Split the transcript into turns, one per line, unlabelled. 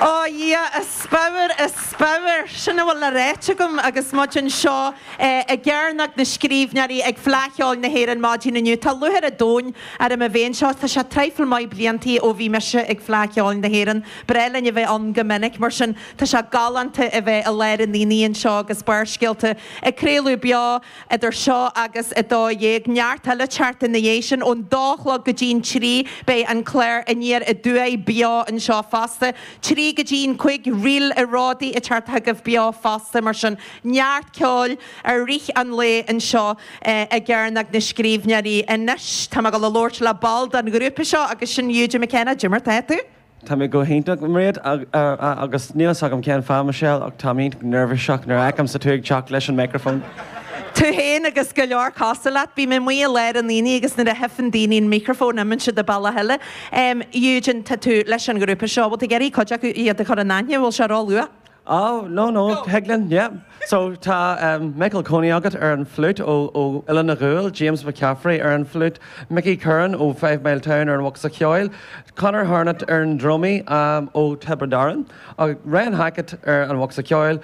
Ó Dhia, a spiorad, a spiorad! Sin a bhfuil le ráit agam agus muid anseo i gCearnóg na Scríbhneoirí ag Fleadh Cheoil na hÉireann maidin inniu. Tá lúcháir an domhain orm a bheith anseo. Tá sé traidhfil maith bliantaí ó bhí mise ag Fleadh Cheoil na hÉireann. Breá linn a bheith ann go minic, mar sin tá sé galánta a bheith i lár an aonaigh anseo agus Barrscéalta ag craoladh beo Idir seo agus 12:00, neart eile teacht ina dhiaidh sin. Ón dó a chlog go dtí'n trí, beidh an clár Aniar Aduaidh beo anseo fosta. Trí go dtí'n cúig, Ríl a' Ródaí ag teacht chugaibh beo fosta. Mar sin, neart ceoil i rith an lae anseo i gCearnóg na Scríbhneoirí. Anois, tá mé ag dul a labhairt le ball den ghrúpa seo agus sin Eugene McKenna. Cad é mar tá tú?
Tá mé go hiontach, Mairéad, agus níl fhios agam cén fáth, Michelle, ach táim iontach neirbhíseach nuair a fheicimse tú ag teacht leis an micreafón.
Tú féin agus go leor cosúil leat. Bím amuigh i lár an aonaigh agus nuair a theipeann daoine an micreafón imíonn siad an bealach eile. Eugene, tá tú leis an ghrúpa seo. Bhfuil tú ag iarraidh cuid acu iad a chur in aithne? Bhfuil sé ró-luath?
Oh, no, no, thig linn, yeah. So, tá Michael Coney agat ar an fliút ó Oileán na gCúil, James McCaffrey ar an fliút, Mickey Curran ó Fivemiletown ar an bhocsa ceoil, Conor Harnett ar an drumaí ó Tiobraid Árann, agus Ryan Hackett ar an bhocsa ceoil.